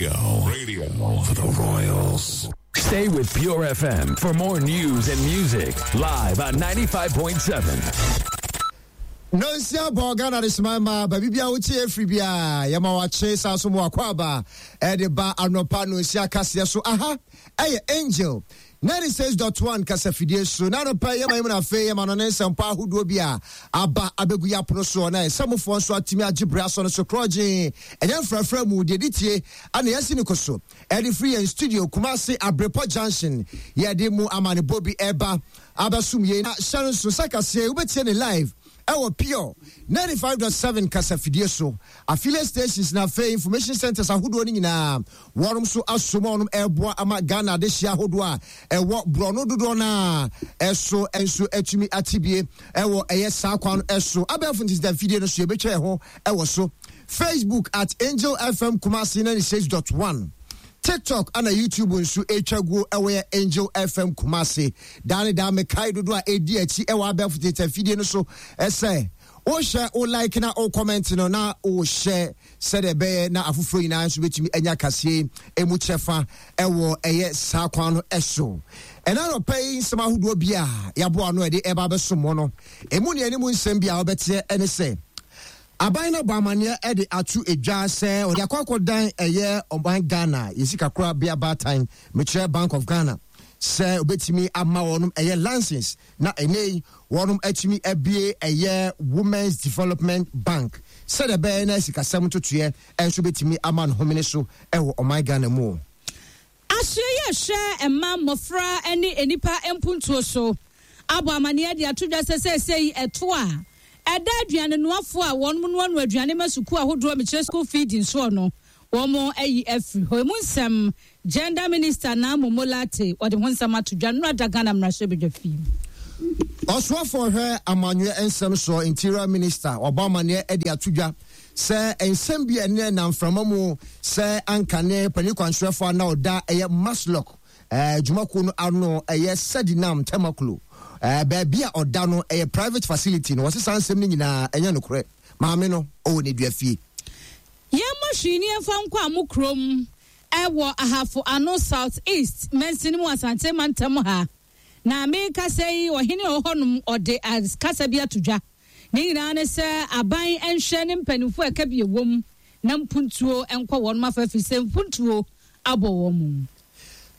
Radio. Radio. For the Royals. Stay with Pure FM for more news and music live on 95.7. Nonsia bɔ Ghana de soma ma baabi bia wotie afiri bia yɛma wakye saa so mu akɔ aba ɛde ba anɔpa nonsia kaseɛ so aha ɛyɛ Angel 96.1 kasafidie so na anɔpa yɛma yɛmu na afei yɛma no ne nsɛmpa ahodoɔ bi a aba abɛgu yɛ apono soɔ na ɛsɛmofoɔ nso atumi agye berɛ asɔ no so korɔgye ɛnyɛ mfrafra mu deɛ de tie ana yɛasi ne ko so ɛde firi yɛn studio Kumasi Abrepɔ Junction yɛde mu amanebɔ bi ɛba abɛsom yei na hyɛ no nso sɛ kaseɛ wobɛtie ne live ɛwɔ Pure 95.7 kasafidie so affiliate stations na afei information centers ahodoɔ no nyinaa wɔnom so asom a wɔnom ɛreboa ama Ghana adehyeɛ ahodoɔ a ɛwɔ borɔno dodoɔ no a ɛso nso atumi atebie ɛwɔ ɛyɛ saa kwan no ɛso abɛɛfo ntesita mfidie no so yɛbɛtwa ɛho ɛwɔ so Facebook at Angel FM Kumasi 96.1 TikTok ana YouTube nso ɛtwa guo ɛwɔ yɛ Angel FM Kumasi daa ne daa mekae dodoɔ a ɛdi akyi ɛwɔ abɛɛfo tete afidie no so ɛsɛ wohyɛ wo like na wo comment no na wohyɛ sɛdeɛ ɛbɛyɛ na afoforɔ nyinaa nso bɛtumi anya kaseɛ ɛmu kyɛfa ɛwɔ ɛyɛ saa kwan no ɛso ɛna nɔpɛ yi nsɛm ahodoɔ bi a yɛaboa ano ɛde ɛba abɛsom no ɛmu ne anim nsɛm bi a wobɛteɛ ɛne sɛ Aban no abɔ amanneɛ de ato dwa sɛ ɔde akɔ akɔdan ɛyɛ ɔman Ghana yɛn sikakorabea baatan, mekyerɛ Bank of Ghana, sɛ obetumi ama wɔnom ɛyɛ license na ɛnɛ yi wɔnom atumi abue ɛyɛ Women's Development Bank sɛdeɛ ɛbɛyɛ na sikasɛm ntotoeɛ nso betumi ama no homene so ɛwɔ ɔman Ghana mu. Asoɛeɛ a ɛhwɛ mma, mmɔfra ne nnipa mpuntuo so abɔ amaneɛ de ato dwa sɛ seesei ɛto a ɛda aduanenoafoɔ a wɔn noanoa aduane ma sukuu ahodoɔ mekyerɛ school feeding soɔ no wɔn ayi afiri hɔ. Emu nsɛm Gender Minister Naa Momo Lartey ɔde ho nsɛm ato dwa nnora da Ghana mmarahyɛbadwafie. Ɔsoafoɔ ɔhwɛ amanyɔɛ nsɛm soɔ Interior Minister wabɔ amaneɛ de ato dwa sɛ nsɛm bi a ɛne nam mframa mu sɛ anka ne panin kwankyerɛfoɔ a na ɔda ɛyɛ MASLOC eh, dwumakuo no ano ɛyɛ Sedinam Tamaklo eh, baabi a ɔda no ɛyɛ private facility no wɔse saa nsɛm no nyinaa ɛnyɛ nokorɛ maame no ɔwɔ ne dua fie. Yɛmmɔ hwee ni yɛmfa nkɔ a mo kurom ɛwɔ Ahafo Ano South East mansini mu Asante mantam ha. Na merekasa yi, ɔhene a ɔwɔ hɔnom, ɔde kasa bi ato dwa. Ne nyinaa ne sɛ aban nhwɛ ne mpanimfoɔ a ɛka bi ɛwom na mpuntuo nkɔ wɔn afa ɛfiri sɛ mpuntuo abɔ wɔn mu.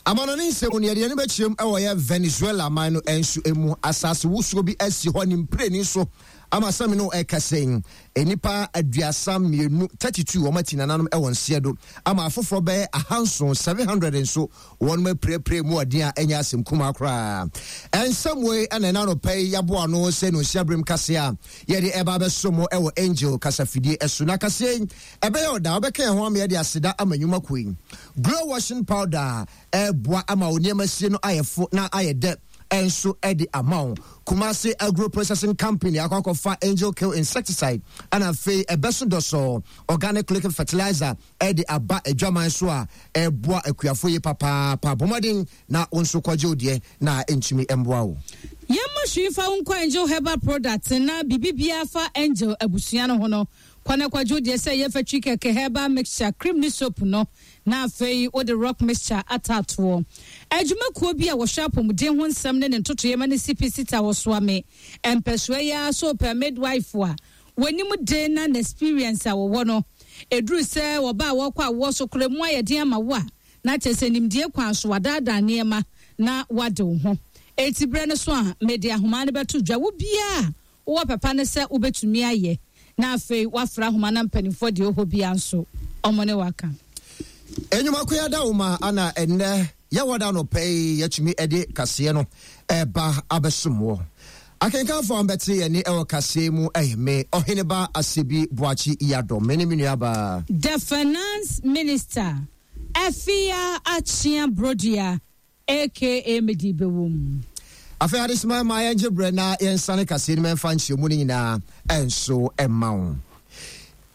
Amanɔne nsɛm mu no, yɛde yɛn ani bɛkyerɛ mu wɔ yɛ Venezuela man no nso mu. Asase wosoɔ bi asi hɔ ne mprenu so ama sɛ me ne wo ɛkasa yi, nnipa 32, 32, wɔn ati nananom wɔ nseɛ do ama afoforɔ bɛyɛ ahanson, 700 nso wɔnom apirapira mu ɔden a ɛnyɛ asɛm kumaa koraa. Nsɛm wei na ɛna anɔpa yi yɛaboa ano sɛ no berem kaseɛ a yɛde ɛba abɛso mo ɛwɔ Angel kasafidie ɛso. Na kaseɛ yi ɛbɛyɛ ɔda wobɛka yɛn ho ama yɛde aseda ama nnwuma kuo yi. Glow washing powder ɛboa ama wo nneɛma sie no ayɛ fo na ayɛ dɛ nso de ama wo. Kumasi Agro Processing Company akɔ akɔfa Angel Kill Insecticide ɛna afei ɛbɛso dɔsɔɔ organic liquid fertilizer de aba adwaman so a ɛboa akuafo yi papaapa. Bɔ mmɔden na wo nso kɔgye wo deɛ na ɛntumi mmoa wo. Yɛmmɔ hwee mfa wo nkɔ Angel Herbal Products na biribi biara fa Angel abusua no ho no, kɔ na kɔgye wo deɛ sɛ ɛyɛ fatwi kɛkɛ, herbal mixture, cream ne soap no, na afei wode rock mixture ataatoɔ. Adwuma kuo bi a wɔhwɛ apɔmuden ho nsɛm ne ne ntotoeɛ ma ne CPC ta wɔsoa me mpɛsoa yi ara so pɛ midwife a W'anim de na n'experience a wɔwɔ no, ɛduru sɛ wɔba a wɔkɔ awoɔ so koraa mu ayɛ den ama wo a, na kyerɛ sɛ nimdeɛ kwan so wadaadaa nneɛma na wade wo ho. Enti berɛ no so a, mede ahomaa no bɛto dwa. Wo biara a wowɔ pɛ pa ne sɛ wobɛtumi ayɛ, na afei woafrɛ ahoma na mpanimfoɔ deɛ ɔwɔ hɔ biara nso, wɔn ne wo aka. Nnwuma ko yɛada wo ma ana ɛnnɛ yɛwɔ da anɔpa yi yɛatumi de kaseɛ no ɛba abɛsom wɔ. Akenkanfo a wɔbɛte yɛn nne wɔ kaseɛ mu yɛ me, Ɔheneba Asebi Boakye Yiadom, me ne me nuabaa. The Finance Minister, Afia Akyea Brodua aka Medi Bɛwom. Afei adesoma ma yɛngye berɛ na yɛnsane kaseɛ no mu ɛmfa nkyerɛmu no nyinaa nso mma wo.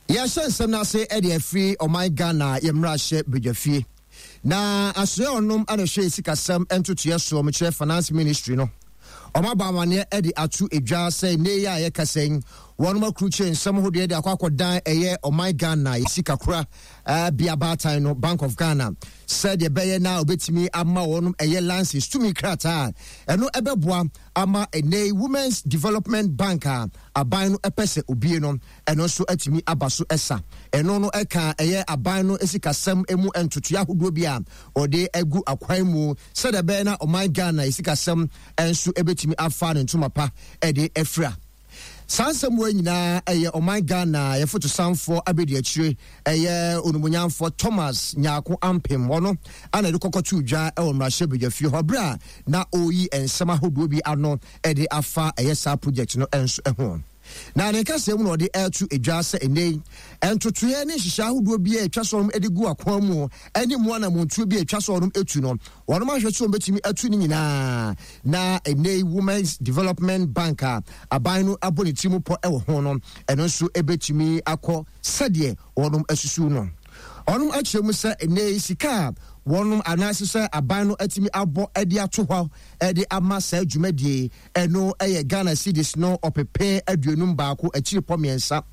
Yɛhyɛ nsɛm no ase de afiri ɔman Ghana yɛ mmarahyɛ badwafie. Na asoɛ ɔnom na ɛhwɛ sikasɛm ntotoeɛ soɔ, mekyerɛ Finance Ministry no. Wɔabɔ amaneɛ de ato dwa sɛ nnɛ yi a yɛkasa yi, wɔnom akrukyire nsɛm hodoɔ de akɔ akɔdan ɛyɛ ɔman Ghana yɛ sikakora bea baatan no, Bank of Ghana, sɛdeɛ ɛbɛyɛ na wɔbɛtumi ama wɔnom ɛyɛ license tumi krataa a ɛno ɛbɛboa ama ɛnnɛ yi Women's Development Bank a aban no pɛ sɛ obie no, ɛno nso atumi aba so sa. Ɛno no ɛka ɛyɛ aban no sikasɛm mu ntotoeɛ ahodoɔ bi a ɔde agu akwan mu sɛdeɛ ɛbɛyɛ na ɔman Ghana sikasɛm nso ɛbɛtumi afa ne ntoma pa de afira. Saa nsɛm wei nyinaa ɛyɛ ɔman Ghana yɛfotosanfoɔ abɛdiakyire ɛyɛ onumunyamfoɔ Thomas Nyarko Ampem ɔno ana ɛde kɔkɔtoo dwa ɛwɔ mmarahyɛ badwafie hɔ berɛ a na ɔreyi nsɛm ahodoɔ bi ano ɛde afa ɛyɛ saa project no nso ho. Na ne nkasɛɛ mu na ɔde reto dwa sɛ ɛnnɛ yi, ntotoeɛ ne nhyehyɛe ahodoɔ bi a ɛtwa sɛ wɔnom de gu akwan mu ne mu anammɔntuo bi a ɛtwa sɛ wɔnom tu no, wɔnom ahwɛ sɛ wɔbɛtumi atu ne nyinaa. Na ɛnnɛ yi Women's Development Bank a aban no abɔ ne tiri mu pɔ wɔ ho no, ɛno nso ɛbɛtumi akɔ sɛdeɛ wɔnom asusu no. Wɔnom akyerɛ mu sɛ ɛnnɛ yi sika a wɔnom anaasɛ sɛ aban no atumi abɔ de ato hɔ de ama saa dwumadie yi, Ɛno yɛ Ghana cedis no ɔpepe aduonum baako akyiripɔ mmiɛnsa,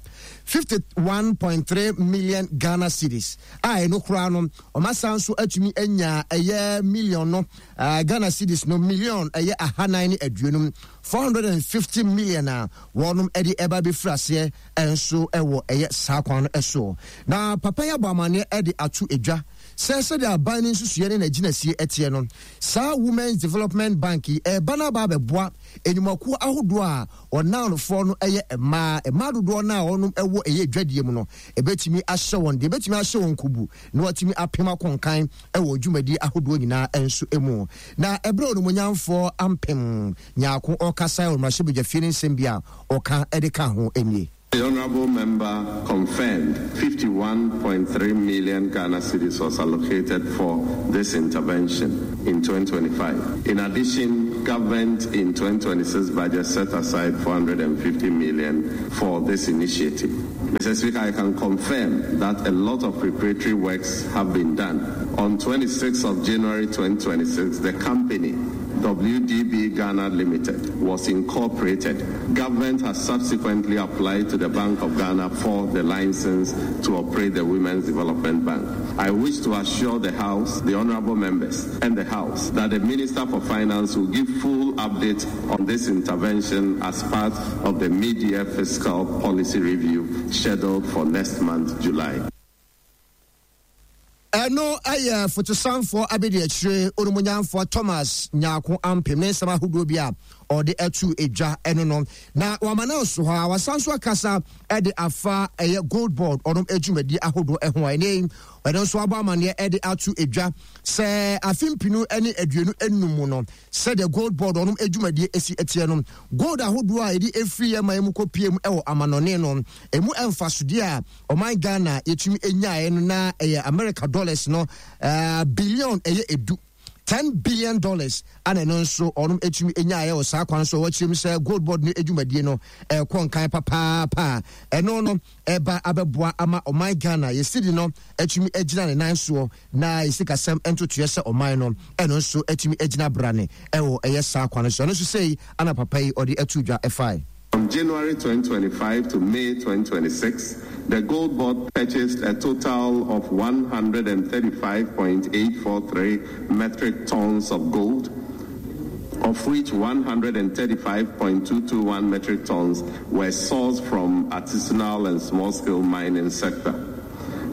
51.3 million Ghana cedis, a ɛno koraa no wɔasan nso atumi anya ɛyɛ million no Ghana cedis no million ɛyɛ ahanan ne aduonum, 450 million, a wɔnom de ɛba bɛfiri aseɛ nso wɔ ɛyɛ saa kwan no soɔ. Na papa yi abɔ amaneɛ de ato dwa sɛ sɛdeɛ aban no nsusuiɛ ne n'agyinasie teɛ no, Saa Women's Development Bank yi reba no aba abɛboa nnwumakuo ahodoɔ a wɔn anofoɔ no yɛ mmaa. Mmaa dodoɔ no a wɔnom wɔ ɛyɛ dwadie mu no, ɛbɛtumi ahyɛ wɔn deɛ, ɛbɛtumi ahyɛ wɔn kubu na wɔatumi apem akɔ nkan wɔ dwumadie ahodoɔ nyinaa nso mu. Na ɛberɛ a Onimuonyamfoɔ Ampem Nyarko ɔrekasa wɔ mmarahyɛbadwafie no nsɛm bi a ɔka de kaa ho nie. The Honourable Member confirmed 51.3 million Ghana cedis was allocated for this intervention in 2025. In addition, government in 2026 budget set aside 450 million for this initiative. Mr. Speaker, I can confirm that a lot of preparatory works have been done. On 26th of January 2026, the company WDB Ghana Limited was incorporated. Government has subsequently applied to the Bank of Ghana for the license to operate the Women's Development Bank. I wish to assure the House, the honorable members, and the House that the Minister for Finance will give full update on this intervention as part of the mid-year fiscal policy review scheduled for next month, July. Ɛno yɛ fotosanfoɔ abadiakyire Onimonyamfoɔ Thomas Nyarko Ampem ne nsɛm ahodoɔ bi a ɔde ato dwa ɛno no. Na wama no nso hɔ a wasan nso akasa de afa ɛyɛ Gold Board ɔnom adwumadie ahodoɔ ɛho a ɛnɛ yi ɛno nso abɔ amaneɛ de ato dwa sɛ afe mpinu ne 25 mu no sɛdeɛ Gold Board ɔnom adwumadie esi teɛ no gold ahodoɔ a yɛde efiri yɛn man mu kɔ pie mu ɛwɔ amanɔne no emu mfasodeɛ a Ɔman Ghana yɛtumi nyaeɛ no na ɛyɛ America dollars no billion ɛyɛ edu $10 billion ana ɛno nso ɔnom ɛtumi nyaeɛ wɔ saa kwan so. Wɔkyerɛ mu sɛ Gold Board no adwumadie no ɛkɔ nkan papaapa a ɛno no ɛba abɛboa ama ɔman Ghana yɛ cedi no atumi agyina ne nan soɔ na yɛ sikasɛm ntotoeɛ sɛ ɔman no ɛno nso atumi agyina brane ɛwɔ ɛyɛ saa kwan so. Ɛno nso sei ana papa yi ɔde ato dwa ɛfae. From January 2025 to May 2026, the Gold Board purchased a total of 135.843 metric tons of gold, of which 135.221 metric tons were sourced from artisanal and small-scale mining sector.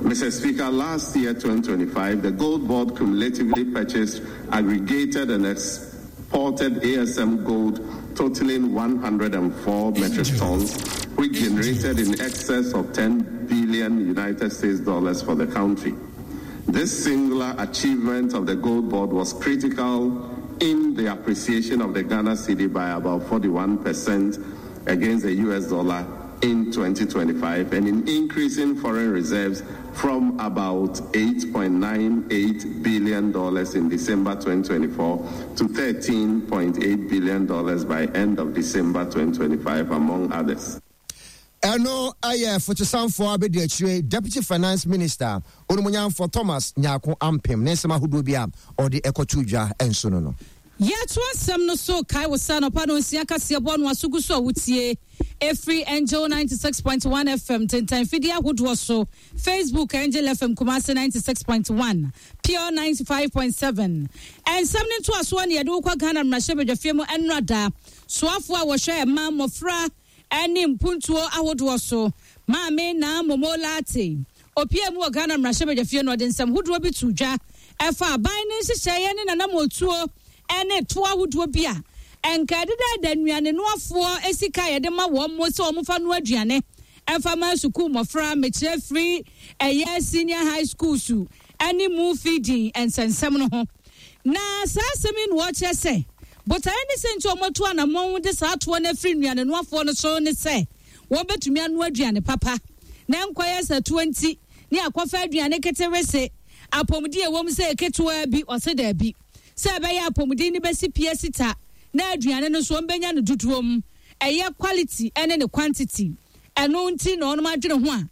Mr. Speaker, last year, 2025, the Gold Board cumulatively purchased, aggregated, and exported ASM gold totaling 104 metric tons, which generated in excess of 10 billion United States dollars for the country. This singular achievement of the Gold Board was critical in the appreciation of the Ghana cedi by about 41% against the US dollar in 2025 and in increasing foreign reserves from about $8.98 billion in December 2024 to $13.8 billion by end of December 2025, among others. Ɛno yɛ fotosanfoɔ abɛdiakyire Deputy Finance Minister Onimonyamfoɔ Thomas Nyarko Ampem ne nsɛm ahodoɔ bi a ɔde kɔtoo dwa nso no no. Yɛto asɛm no so kae wo sɛ anɔpa nonsia kaseɛbɔ no aso gu so a wotie ɛfiri Angel 96.1 FM ntentan fidie ahodoɔ so, Facebook Angel FM Kumasi 96.1, Pure 95.7. Nsɛm no ntoasoɔ ne yɛde wo kɔ Ghana mmarahyɛbadwafie mu ɛnnora da. Soafoɔ a wɔhwɛ mma, mmɔfra ne mpuntuo ahodoɔ so, Maame Naa Momo Lartey, ɔpuee mu wɔ Ghana mmarahyɛbadwafie no, ɔde nsɛm hodoɔ bi too dwa ɛfa aban no nhyehyɛeɛ ne n'anammɔntuo ne toɔ ahodoɔ bi a ɛnka ɛdedaada nnuanenoafoɔ sika a yɛde ma wɔn sɛ wɔmfa noa aduane mfa ma sukuu mmɔfra, mekyerɛ firi ɛyɛ senior high schools ne mu feeding nsɛnsɛm no ho. Na saa asɛm yi na wɔkyerɛ sɛ botaeɛ ne sɛ nti wɔatu anammɔn de saa toɔ no afiri nnuanenoafoɔ no so ne sɛ wɔbɛtumi anoa aduane papa na ɛnkɔyɛ sɛ toɔ nti ne akɔfa aduane ketewese apɔmuden a ɛwom sɛ ketewaa bi ɔse daabi sɛ ɛbɛyɛ apɔmuden no bɛsi pia sita na aduane no nso wɔbɛnya no dodoɔ mu ɛyɛ quality ne ne quantity ɛno nti na wɔnom adwene ho a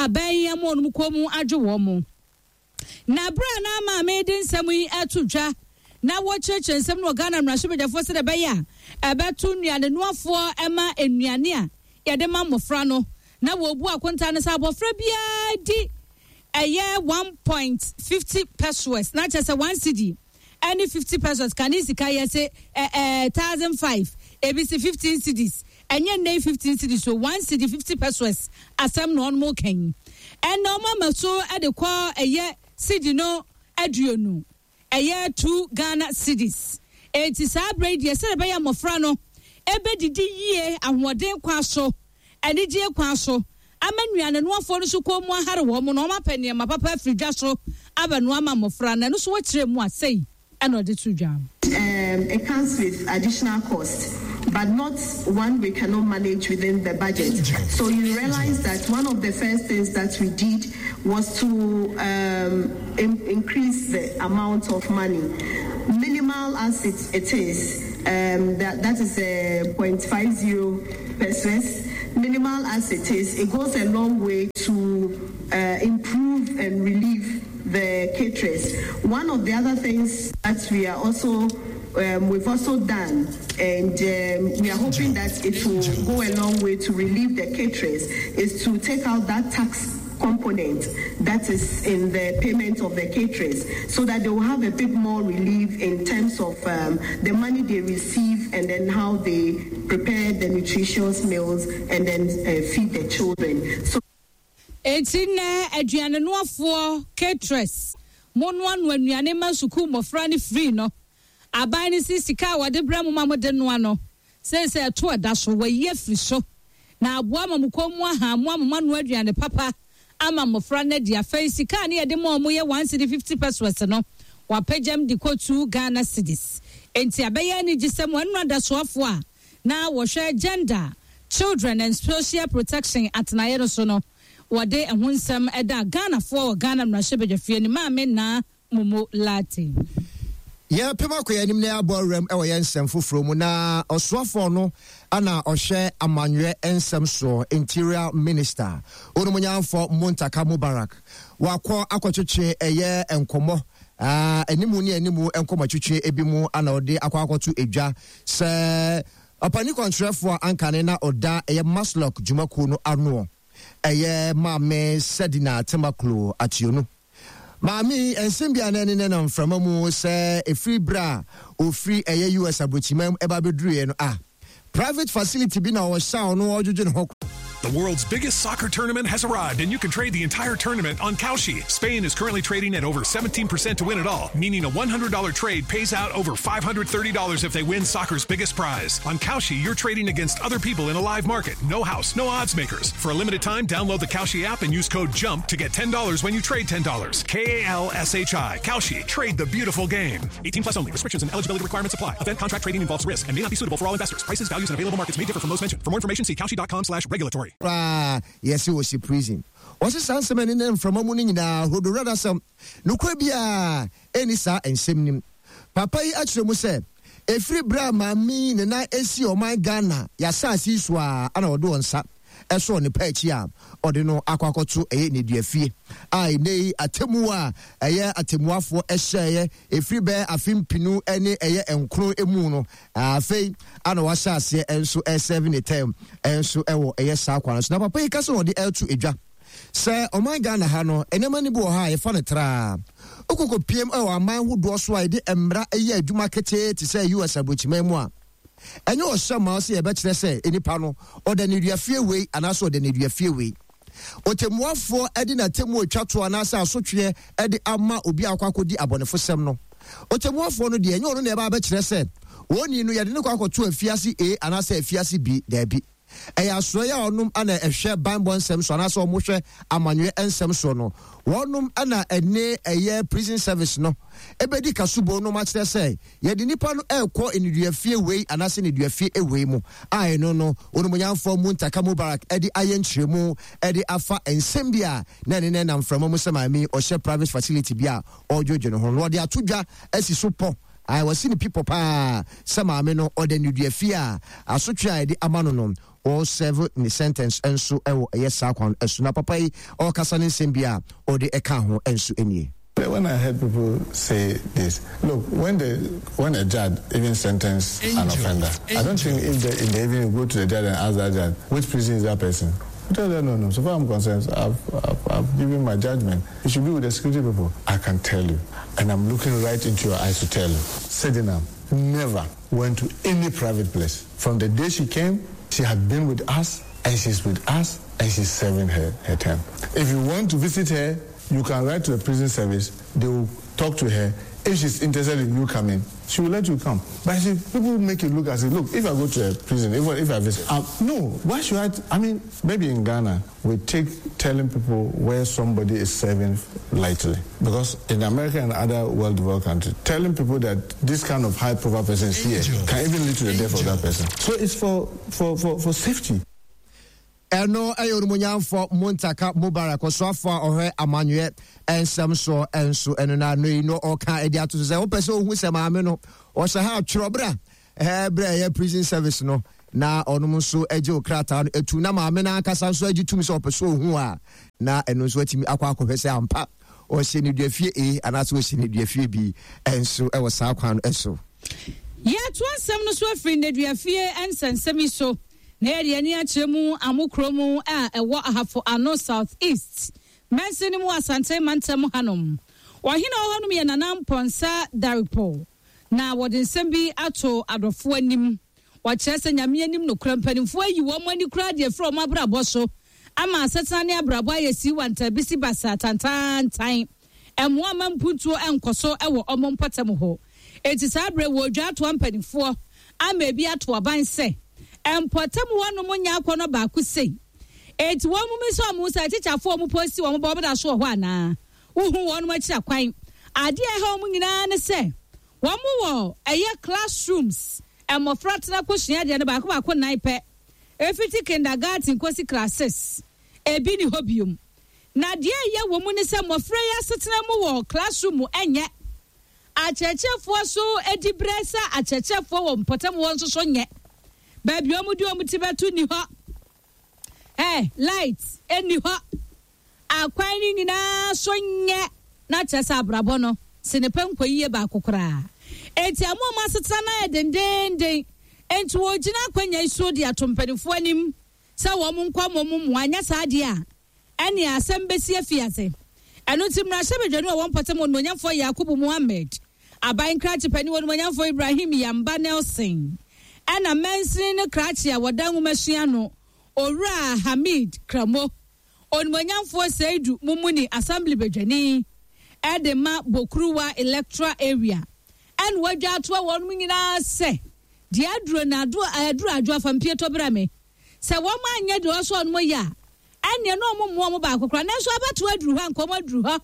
aban yi ama wɔnom kɔn mu adwo wɔn. Na bere a na maame de nsɛm yi reto dwa na wɔkyerɛkyerɛ nsɛm no wɔ Ghana mmarahyɛbadwafoɔ sɛdeɛ ɛbɛyɛ a ɛbɛto nnuanenoafoɔ ma nnuane a yɛde ma mmɔfra no, na wɔbu akontaa no sɛ abɔfra biara di ɛyɛ 1.50 pesewas, na kyerɛ sɛ 1 cedi ɛne 50 pesewas, kane sika yɛ se ɛɛ 1005, ebi se 15 cedis, Ɛnyɛ nnɛ yi 15 cedis o, one cedi 50 pesewas asɛm na wɔnom reka yi. Ɛnna wɔn ama so de kɔ ɛyɛ cedi no aduonu, ɛyɛ two Ghana cedis. Enti saa berɛ yi deɛ sɛdeɛ ɛbɛyɛ a mmɔfra no ɛbɛdidi yie ahoɔden kwan so, anigyeɛ kwan so, ama nnuanenoafoɔ no nso kɔn mu ahare wɔn na wɔapɛ nneɛma papa afiri dwa so abɛnoa ama mmɔfra no. Ɛno nso wɔkyerɛ mu a sei ɛna ɔde to dwa. Um, it comes with additional cost, but not one we cannot manage within the budget. So you realize that one of the first things that we did was to um, in increase the amount of money. Minimal as it, it is, um, that, that is a uh, 0.50 percent. Minimal as it is, it goes a long way to uh, improve and relieve the caterers. One of the other things that we are also um, we've also done, and um, we are hoping that it will go a long way to relieve the caterers, is to take out that tax component that is in the payment of the caterers so that they will have a bit more relief in terms of um, the money they receive and then how they prepare the nutritious meals and then uh, feed the children. So Enti nnɛ, aduanenoafoɔ, caterers, monoanoa nnuane ma sukuu mmɔfra no firi no, aban no se sika a wɔde brɛ mo ma mode noa no, seesei ɛto ɛda so, wɔayi afiri so, na aboa ma mo kɔn mu aha mo ama moanoa aduane papa ama mmɔfra no adi. Afei sika a ne yɛde ma wɔn yɛ one cedi fifty pesewas no, wɔapagyam de kɔ two Ghana cedis. Enti abɛyɛ anigyesɛm wɔ nnora adasoafoɔ a na wɔhwɛ Gender, Children and Social Protection atenaeɛ no so no, wɔde ɛho nsɛm daa Ghanafoɔ wɔ Ghana Mmarahyɛbadwafie no Maame Naa Momo Lartey. Yɛrepem akɔ yɛn anim na yɛabɔ awuram wɔ yɛn nsɛm foforɔ mu na ɔsoafoɔ no na ɔhwɛ amanyɔɛ nsɛm soɔ, Interior Minister, Onumonyamfoɔ Muntaka Mubarak, wakɔ akɔtwetwe ɛyɛ nkɔmmɔ, animu ne animu nkɔmmɔtwetwe bi mu ana ɔde akɔ akɔto edwa Sɛ ɔpanin kwankyerɛfoɔ a ankane na ɔda ɛyɛ MASLOC dwumakuo no anoɔ, ɛyɛ Maame Sedina Tamaklo Ationu. Maame yi, nsɛm bi a na ɛne no nam mframa mu sɛ ɛfiri berɛ a ɔfiri ɛyɛ US aburokyiman mu ɛba bɛduruiɛ no a, private facility bi na ɔhyɛ a ɔno ɔdwodwo ne ho. The world's biggest soccer tournament has arrived, and you can trade the entire tournament on Kalshi. Spain is currently trading at over 17% to win it all, meaning a $100 trade pays out over $530 if they win soccer's biggest prize. On Kalshi, you're trading against other people in a live market. No house, no odds makers. For a limited time, download the Kalshi app and use code JUMP to get $10 when you trade $10. K A L S H I. Kalshi. Trade the beautiful game. 18 plus only. Restrictions and eligibility requirements apply. Event contract trading involves risk and may not be suitable for all investors. Prices, values, and available markets may differ from those mentioned. For more information, see Kalshi.com slash regulatory. Koraa yɛse ɔsi prison. Ɔse saa nsɛm a ɛnenam mframa mu no nyinaa hodworadasɛm. Nokorɛ biara ɛnni saa nsɛm no mu. Papa yi akyerɛ mu sɛ ɛfiri berɛ a maame yi ne nan sii ɔman Ghana y'asaase yi so ara na ɔde ɔnsa. sɔɔ ne pɛ akyi a ɔde no akɔ akɔto ɛyɛ nneduafie a ɛnnɛ yi atemmuo a ɛyɛ atemmuafoɔ hyɛeɛ ɛfiri bɛyɛ afe mpinu ne ɛyɛ nkron mu no afei ana wahyɛ aseɛ nso ɛsɛve ne term nso ɛwɔ ɛyɛ saa kwan so. Na papa yi ka sɛ ɔde ɛreto edwa sɛ ɔman Ghana ha no nneɛma no bi wɔ ha a yɛfa no traa wokɔkɔ piem ɛwɔ aman hodoɔ so a yɛde mmara ɛyɛ adwuma ketee te sɛ US aburokyiman mu a ɛnyɛ ɔhyɛ ma sɛ yɛbɛkyerɛ sɛ nipa no ɔda nneduafie wei anaasɛ ɔda nneduafie wei. Ɔtɛmmuafoɔ de n'atemmuo retwa toɔ anaasɛ asotweɛ de ama obi a akɔ akɔdi abɔnefosɛm no. Ɔtɛmmuafoɔ no deɛ, ɛnyɛ ɔno na ɛba abɛkyerɛ sɛ onii no yɛde no kɔ akɔto afiase A anaasɛ afiase B. Daabi. Ɛyɛ asoɛeɛ a wɔnom na ɛhwɛ banbɔ nsɛm so anaasɛ wɔhwɛ amanyɔɛ nsɛm soɔ no. Wɔnom na ɛne ɛyɛ prison service no bɛdi kasobɔ nom akyerɛ sɛ yɛde nipa no rekɔ nneduafie wei anaasɛ nneduafie wei mu a ɛno no Onimonyamfoɔ Muntaka Mubarak de ayɛ nkyerɛmu de afa nsɛm bi a na ɛne no nam mframa mu sɛ maame yi ɔhyɛ private facility bi a ɔredwodwo ne ho no ɔde ato dwa asi so pɔ a wasi ne pi pɔ paa sɛ maame no ɔda nneduafie a asotwe a yɛde ama no no ɔresɛve ne sentence nso wɔ ɛyɛ saa kwan so. Na papa yi ɔrekasa ne nsɛm bi a ɔde ɛka ho nso nie. When I heard people say this, look, when the when a judge even sentence an offender, I don't think if they, if they even go to the judge and ask that judge, which prison is that person? I tell them, no, no. So far I'm concerned, I've, I've, I've given my judgment. You should be with the security people. I can tell you. And I'm looking right into your eyes to tell you. Sedinam never went to any private place. From the day she came, she had been with us, and she's with us, and she's serving her, her term. If you want to visit her, you can write to the prison service. They will talk to her. If she's interested in you coming, she will let you come. But see, people make it look as if, look, if I go to a prison, if, if I visit, no, why should I? I mean, maybe in Ghana, we take telling people where somebody is serving lightly. Because in America and other well-developed countries, telling people that this kind of high-profile person is here can even lead to the death of that person. So it's for, for, for, for safety. Ɛno yɛ Onimuonyamfoɔ Muntaka Mubarak, ɔsoafoɔ a ɔhwɛ amanyɔɛ nsɛm soɔ nso ɛno na ano yi no ɔka de ato so sɛ wopɛ sɛ ohu sɛ maame no ɔhyɛ ha atwerɛ berɛ a berɛ a ɛyɛ prison service no na ɔnom nso agye wo krataa no atu na maame no ankasa nso agye tum sɛ ɔpɛ sɛ ohu a na ɛno nso atumi akɔ akɔhwɛ sɛ ampa ɔhyɛ ne duafie A anaasɛ ɔhyɛ ne duafie B nso ɛwɔ saa kwan no so. Yɛtoa nsɛm no so afiri nneduafie nsɛnsɛm yi so. Na yɛde yɛn ani akyerɛ mu Amo kuro mu a ɛwɔ Ahafo Ano South East mansini mu wɔ Asante mantam hanom. Ɔhene a ɔwɔ hɔnom yɛ Nana Mpɔnsa Darikpo na wɔde nsɛm bi ato adɔfoɔ anim. Wɔkyerɛ sɛ Nyame anim nokorɛ mpanimfoɔ ayi wɔn ani koraa de afiri wɔn abrabɔ so ama asetena ne abrabɔ ayɛ siiwantaa bisi basaa tantaantan. Mmoa mma mpuntuo nkɔ so wɔ wɔn mpɔtam hɔ. Enti saa berɛ wɔredwa atoa mpanimfoɔ ama ebi ato aban sɛ mpɔtam hɔnom nyɛ akɔnnɔ baako sei. Enti wɔn mmisa wɔn ho sɛ atikyafoɔ a wɔposti wɔn ba wɔda so wɔ hɔ anaa? Wohu wɔn akyiri akwan. Adeɛ a ɛha wɔn nyinaa ne sɛ wɔn wɔ ɛyɛ classrooms mmɔfra tena kɔsua adeɛ no baako baako nnan pɛ. Ɛfiti kindergarten kɔsi class six ebi nni hɔ biom. Na deɛ ɛyɛ wɔ mu ne sɛ mmɔfra yi asetena mu wɔ classroom mu nyɛ. Akyerɛkyerɛfoɔ nso diberɛ sɛ akyerɛkyerɛfoɔ wɔ mpɔtam hɔ nso so nyɛ. Baabi a wɔde wɔn ti bɛto nni hɔ. Ɛ light nni hɔ. Akwan no nyinaa so nyɛ. Na kyerɛ sɛ abrabɔ no senepɛ nkɔ yie baako koraa. Enti ama wɔn asetena no ayɛ dendeenden. Enti wɔgyina akwannya yi so de ato mpanimfoɔ anim sɛ wɔn nkɔ mmɔ wɔn mmoa, anyɛ saa deɛ a, ɛnneɛ asɛm bɛsi afiase. Ɛno nti, mmarahyɛbadwani a ɔwɔ mpɔtam Onimuonyamfoɔ Yakubu Mohammed, Aban krakye panin Onimuonyamfoɔ Ibrahim Yamba Nelson, ɛna mansini no krakye a wɔda nwomasua ano, Owura Hamid Kramo, Onimuonyamfoɔ Seidu Mumuni Assembly badwani de ma Bokuruwa Electoral Area, ɛna wadwa atoa wɔnom nyinaa sɛ, Deɛ aduro no aduro adwo afa mpie tɔ brɛ me. Sɛ wɔn anyɛ deɛ ɔsɔ wɔn yɛ a, ɛnneɛ na wɔn mmoa wɔn baako koraa. Nanso abatoɔ aduru hɔ a, nka wɔn aduru hɔ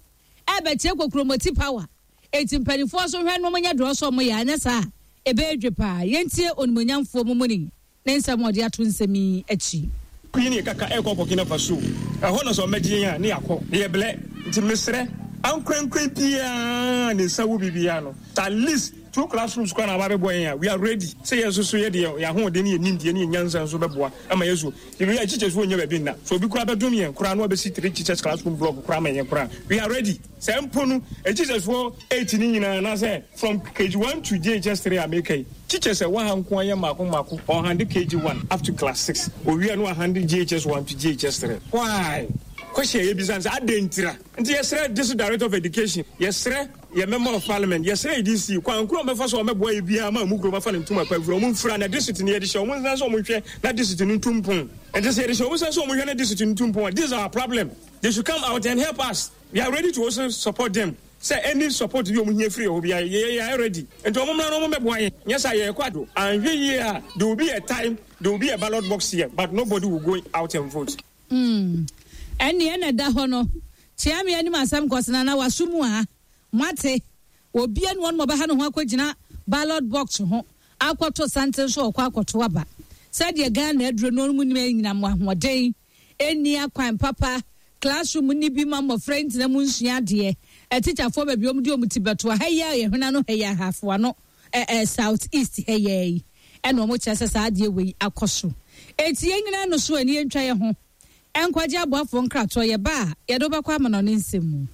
ɛrebɛkyerɛ kokuromoti power. Enti mpanimfoɔ nso nhwɛ na wɔnyɛ deɛ ɔsɔ wɔn yɛ, anyɛ saa a, ɛbɛyɛ dwe paa. Yɛntie Onimuonyamfoɔ Mumuni ne nsɛm a ɔde ato nsɛm yi akyi. Yɛne yɛ kaka ɛrekɔ Burkina Faso, ɛhɔ na sɛ ɔmmɛgye yɛn a ne yɛakɔ, na yɛbrɛ. Nti mesrɛ ankorankora biara a ne nsa wɔ biribiara no, at least. Two classrooms koraa na aba abɛboa yɛn a, we are ready sɛ yɛn nso so yɛde yɛn ahoɔden ne yɛn nimdeɛ ne yɛn nyansa nso bɛboa ama yɛn so. Yɛbɛyɛ a teachers wɔ nnya baabi nna. Sɛ obi koraa bɛdom yɛn koraa na wabɛsi three teachers classroom block koraa ama yɛn koraa, we are ready. Sɛ mpo no, teachers foɔ eight no nyinaa anaasɛ from KG one to JHS three a meka yi, teachers a ɛwɔ ha nko ara yɛ mmaako mmaako, ɔhande KG one up to class six, owie a na wahande JHS one to JHS three. Why? Question a yɛbisa ne sɛ adɛn ntira? Nti yɛsrɛ District Director of Education, yɛsrɛ yɛn Member of Parliament, yɛsrɛ EDC, kwan koro a wɔbɛfa so a wɔbɛboa yɛ biara ma Amu kurom afa ne ntoma pa afira, wɔn mfira na district no yɛde hyɛ wɔn nsa sɛ wɔn nhwɛ na district no ntu mpon. Nti sɛ yɛde hyɛ wɔn nsa sɛ wɔn nhwɛ na district no ntu mpon a, this is our problem. They should come out and help us. We are ready to also support them. Sɛ any support bi a wɔn hia firi yɛ hɔ biara, yɛ yɛ ready. Nti wɔn mmra na wɔn mmɛboa yɛn. Nyɛ saa yɛrekɔ ado. Anhwɛ yie a, there will be a time, there will be a ballot box here, but nobody will go out and vote. Mm, ɛnneɛ na ɛda hɔ no, kyea me anim asɛm kɔsena na waso mu a, moate, obia ne wɔn ɔbɛha ne ho akɔgyina ballot box ho akɔto santen so ɔkɔ akɔto aba. Sɛdeɛ Ghana aduro no mu nim anyinam ahoɔden, ɛnni akwan papa, classroom nni bi ma mmɔfra ntena mu nsua adeɛ, atikyafoɔ baabi wɔn de wɔn ti bɛto ha yi a yɛhwena no ha yi ahafoa no, ɛ ɛ South East ha yi ara yi ɛna wɔn kyerɛ sɛ saa adeɛ wei akɔ so. Eti yɛn nyinaa no so ani yɛntwa yɛn ho nkwagye aboafoɔ nkratoɔ yɛba a yɛde wobɛkɔ amanɔne nsɛm mu.